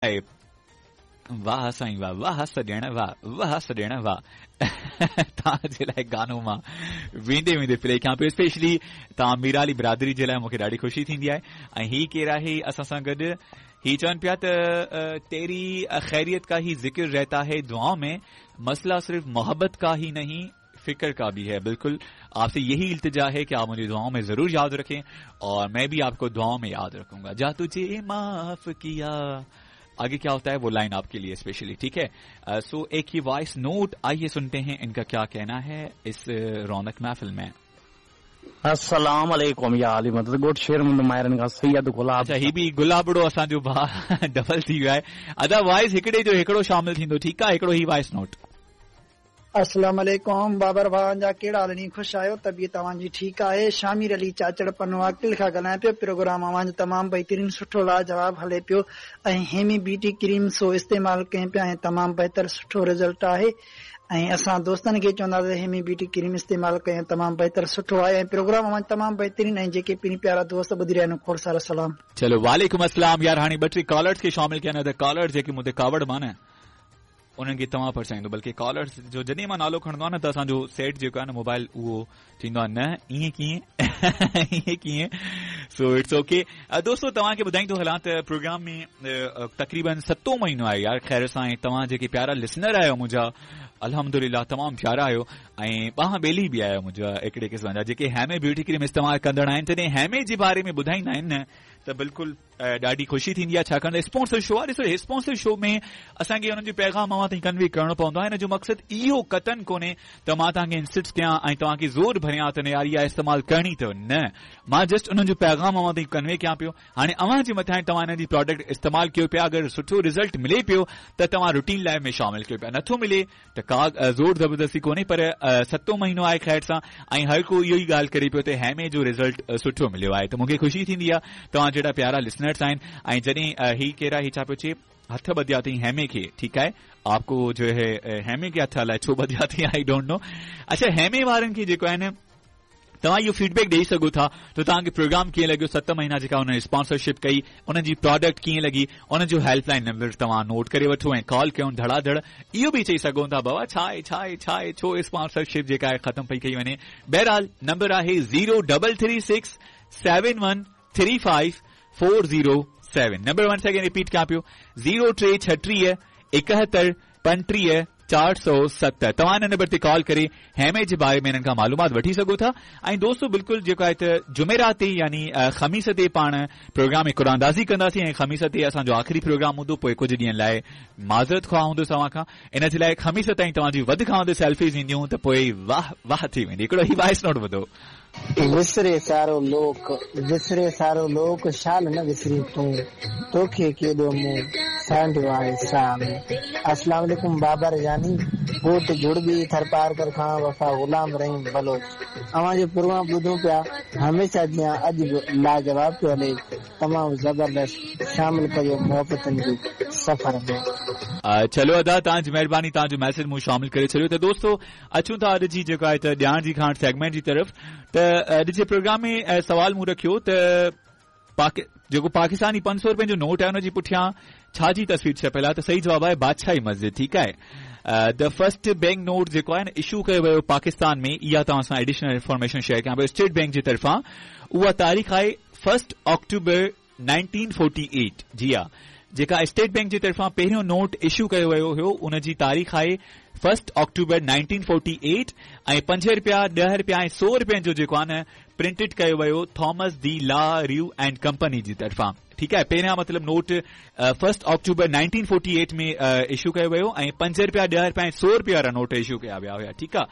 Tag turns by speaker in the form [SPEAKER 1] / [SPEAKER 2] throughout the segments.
[SPEAKER 1] آهي. واهه سائين واهه واهه سڄڻ واهه واهه سڄڻ واهه توهان جي لاء گانو مان ويندي ويندي پلي ڪيان پيو اسپيشلي توهان ميرالي برادري جي لاء مونکي ڏاڍي خوشي ٿيندي آهي ۽ هي ڪير آهي اسان سان گڏ هي چون پيا ته تيري خيريت کا هي ذڪر رهتا هي دعائون ۾ مسئله صرف محبت کا هي نہیں فکر کا بھی ہے بالکل آپ سے یہی التجا ہے کہ آپ مجھے دعاؤں میں ضرور یاد رکھیں اور میں بھی آپ کو دعاؤں میں یاد رکھوں گا جا تجھے معاف کیا آگے کیا ہوتا ہے وہ لائن آپ کے لیے اسپیشلی ٹھیک ہے سو ایک ہی وائس نوٹ آئیے سنتے ہیں ان کا کیا کہنا ہے اس رونق محفل میں۔
[SPEAKER 2] السلام علیکم یا علی مدد ڳوٺ شير محمد مائرن کان سيد گلاب
[SPEAKER 1] اچھا هي به گلابڙو اسان جو ڀاء ڊبل ٿي ويو آهي ادا وائس هڪڙي جو هڪڙو شامل ٿيندو ٺيڪ آهي هڪڙو هي وائس نوٽ۔
[SPEAKER 3] السلام عليڪم بابر ڀاء جا ڪهڙا حال ني خوش آهيو طبيعت اوهان جي ٺيڪ آهي شامير علي چاچڙ پنوعاقل کان ڳالهايان پيو پروگرام اوهان جو تمام بهترين سٺو لاجواب هلي پيو ۽ هيمي بيوٽي ڪريم سو استعمال ڪيون پيا ۽ تمام بهتر سٺو رزلٽ آهي ۽ اسان دوستن کي چونداسين هيمي بيوٽي ڪريم استعمال ڪيو تمام بهتر سٺو آهي ۽ پروگرام اوهان جو تمام بهترين ۽ جيڪي پرين پيارا دوست ٻڌي رهيا آهن کوڙ سارا سلام.
[SPEAKER 1] چلو وعليڪم السلام يار هاڻي ٻه ٽي ڪالرز کي شامل ڪيان نه ته ڪالرز جيڪي مون تي ڪاوڙ مان نه انهن کي توهان پرچائيندو بلڪه ڪالرز جو جڏهن مان نالو کڻندو آهيان نه ته اسان جو سيٽ جيڪو آهي نه موبائل اهو ٿيندو آهي نه ائين ڪيئن ائين ڪيئن سو it's okay دوستو توهان کي ٻڌائيندو هلان ته پروگرام ۾ تقريبن ستون مهينو آهي يار خير سان ۽ توهان جيڪي پيارا لسنر آهيو منهنجا الحمدلله تمام پيارا آهيو ۽ ٻانهن ٻيلي به آهيو منهنجا هڪڙي قسم جا جيڪي هيمي بيوٽي ڪريم استعمال ڪندڙ آهن جڏهن هيمي جي باري ۾ ٻڌائيندا آهن نه ته بلڪل ڏاڍي خوشي ٿيندي آهي ڇاڪاڻ ته اسپانسر شو آهي ڏسو اسپانسر شو ۾ اسان کي انهن جو پيغام اوهان تائين ڪنوي ڪرڻو پوندو آهي ان جو مقصد اهو قطعن ڪونهي ته مان توهان کي انسسٽ ڪيان ۽ توهان کي زور ڀريان ته نه يار اها استعمال ڪرڻي اٿو نه مان جسٽ انهن جو پيغام اوهان تائين ڪنوي ڪيان پيو هاڻي اوهان جي مٿان آهي توهان انهن جي پراڊڪٽ استعمال ڪيو پيا اگر سٺو رزلٽ ملي پيو ته توهان روٽين لائف ۾ شامل ڪيو پيا نٿو ملي ته ڪا زور زبردستي ڪونهي پر ستون مهينو آهي خير سان ۽ هر ڪو اهو ئي ڳالهه ڪري پيو ته هيمي جو رزلٽ سٺو مليو آهي ته مون کي خوشي ٿيندي آهي توهان جهڙا پيارا لسنرس آهن ۽ جڏهن هي ڪير آهي هي ڇا پيو چئي هٿ ٻڌيا اٿئي هيمي کي ٺيڪ آهي آپ ڪو جو هي هيمي کي هٿ الائي ڇو ٻڌيا اٿئي I don't know اڇا هيمي وارن کي جيڪو آهي نه توهان اهو فيڊ بيڪ ڏئي سگهو ٿا ته توهان کي پروگرام ڪيئن لڳيو ست مهينا جيڪا انهن اسپانسرشپ ڪئي انهن جي پراڊڪٽ ڪيئن لڳي انهن جو هيلپ لائن نمبر توهان نوٽ ڪري وٺو ۽ ڪال ڪيو ڌڙا ڌڙ اهو به چئي سگهو ٿا بابا ڇا آهي ڇا آهي ڇا آهي ڇو اسپانسرشپ جيڪا آهي ختم پئي ڪئي وڃي بهرحال نمبر آهي zero double three six seven one three five four zero seven number one second repeat ڪيان پيو زيرو ٽي ڇٽيهه ايڪهتر 35 407 توهان ان نمبر تي ڪال ڪري هيمي جي باري ۾ انهن کان معلومات وٺي سگهو ٿا ۽ دوستو بلڪل جيڪو آهي ته جمعرات تي يعني خميس تي پاڻ پروگرام ۾ قرعه اندازي ڪنداسين ۽ خميس تي اسان جو آخري پروگرام هوندو پوء ڪجهه ڏينهن لاء معذرت خواهه هوندس اوهان کان ان جي لاء خميس تائين توهان جي وڌ کان وڌ سيلفيز اينديون ته پوء واهه واهه ٿي ويندي هڪڙو هي وائس نوٽ ٻڌو.
[SPEAKER 4] وسري سارو لوڪ، وسري سارو لوڪ، شال نه وسرين تون، توکي ڪيڏو مون سانڍيو آهي ساهه ۾. اسلام عليڪم بابر جاني، ڳوٺ جڙٻي ٿرپارڪر کان وفا غلام رحيم بلوچ اوهان جو پروگرام ٻڌون پيا هميشه جيان اڄ به لاجواب پيو هلي تمام زبردست شامل ڪجو محبتن جي سفر ۾.
[SPEAKER 1] چلو ادا توهان جي مهرباني توهان جو ميسيج مون شامل ڪري ڇڏيو ته دوستو اچون ٿا اڄ جي جيڪو آهي ته ڄاڻ جي کاڻ سيگمينٽ جي طرف ته اڄ جي پروگرام ۾ سوال مون رکيو ته پاڪ جيڪو پاڪستاني 500 روپين جو نوٽ آهي ان جي پٺيان ڇا جي تصوير ڇپيل آهي ته صحيح جواب آهي بادشاهي مسجد ٺيڪ آهي the first bank note جيڪو آهي نه اشو ڪيو ويو پاڪستان ۾ اها توهان سان ايڊيشنل انفارميشن شيئر ڪيان پيو اسٽيٽ بينڪ جي طرفان اها تاريخ آهي فرسٽ آڪٽوبر 1948 جي ها جيڪا اسٽيٽ بينڪ جي طرفان پهريون نوٽ اشو ڪيو ويو هيو ان جي تاريخ آهي فرسٽ آڪٽوبر 1948 ۽ 5 رپيا 10 رپيا ۽ 100 رپين جو جيڪو آهي نه پرنٽڊ ڪيو ويو Thomas De La Rue and company جي طرفان ٺيڪ آهي پهريان مطلب نوٽ فرسٽ آڪٽوبر 1948 ۾ اشو ڪيو ويو ۽ 5 رپيا 10 رپيا ۽ 100 رپيا وارا نوٽ اشو ڪيا ويا هيا ٺيڪ آهي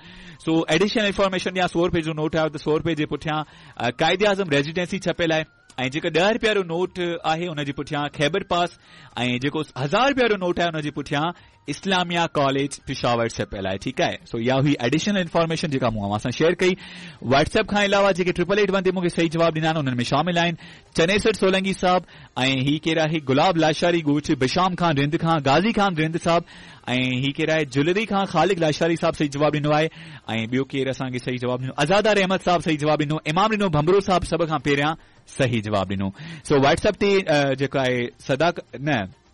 [SPEAKER 1] سو ايڊيشنل انفارميشن ڏيان 100 رپئي جو نوٽ آيو ته 100 رپئي جي پٺيان قائد اعظم ريزيڊنسي ڇپيل آهي ۽ جيڪو ڏهه رپيا وارو نوٽ آهي ان جي پٺيان خيبر پاس ۽ جيڪو هزار رپيا وارو نوٽ آهي ان جي پٺيان اسلاميا ڪاليج پشاور ڇپيل آهي ٺيڪ آهي سو اها هئي ايڊيشنل انفارميشن جيڪا مون اوهان سان شيئر ڪئي واٽس ايپ کان علاوه جيڪي ٽرپل ايٽ ون تي مون کي صحيح جواب ڏنا آهن انهن ۾ شامل آهن چنيسر سولنگي صاحب ۽ هي ڪير آهي گلاب لاشاري ڳوٺ بشام خان رند کان غازي خان رند صاحب ۽ هي ڪير آهي جلري کان خالق لاشاري صاحب صحيح جواب ڏنو آهي ۽ ٻيو ڪير اسان کي صحيح جواب ڏنو ازادار احمد صاحب صحيح جواب ڏنو امام ڏنو ڀنڀرو صاحب سڀ کان پهريان صحيح جواب ڏنو سو واٽس ايپ تي جيڪو آهي صدا نه.